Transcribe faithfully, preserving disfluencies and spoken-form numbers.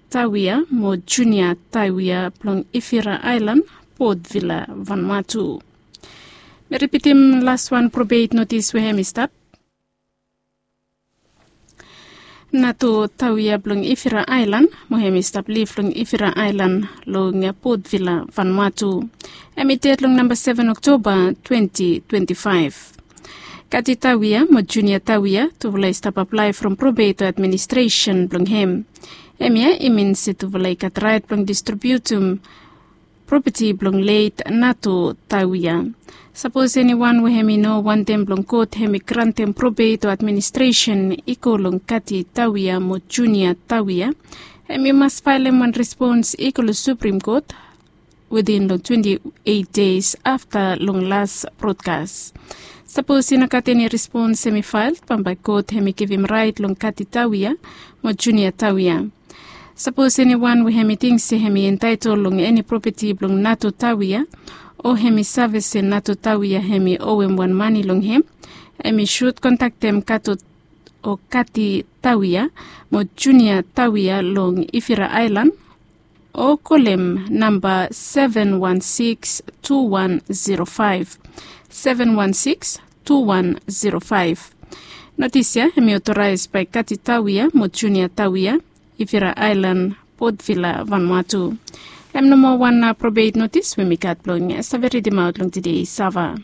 Tawia mo Junia Tawia blong Ifira Aelan, Port Vila, Vanuatu. Mi ripitim laswan probeit notis we hem i stap. Nato Tawia blong Ifira Aelan mo hem i stap liv long Ifira Aelan long Port Vila, Vanuatu. Hem i ded long namba seven Oktoba twenti twenti faef. Kati Tawia mo Junia Tawia tufala i stap aplae from probeit administresen blong hem. Hemia i min se tufala i gat raet blong distribiutum propeti blong leit Nato Tawia. Sapos eniwan we hem i no wantem blong kot hem i grantem probeit administresen i go long Kati Tawia mo Junia Tawia, hem i mas faelem wan respons i go long Suprim Kot witin long twenti eit des afta long las brodkas. Sapos i no gat eni respons hem i fael, bambae kot hem i givim raet long Kati Tawia mo Junia Tawia. Sapos eniwan we hem i ting se hem i entaetol long eni propeti blong Nato Tawia, o hem i save se Nato Tawia hem i owem wan mane long hem, hem i sud kontaktem Kato o Kati Tawia mo Junia Tawia long Ifira Aelan, o kolem namba seven one six two one zero five, seven one six two one zero five. Notis ya hem i otoraes bae Kati Tawia mo Junia Tawia, Ifira Aelan, Port Vila, Vanuatu. Hem nomo wan probeit notis we mi gat blong save ridimaot long tede Sava.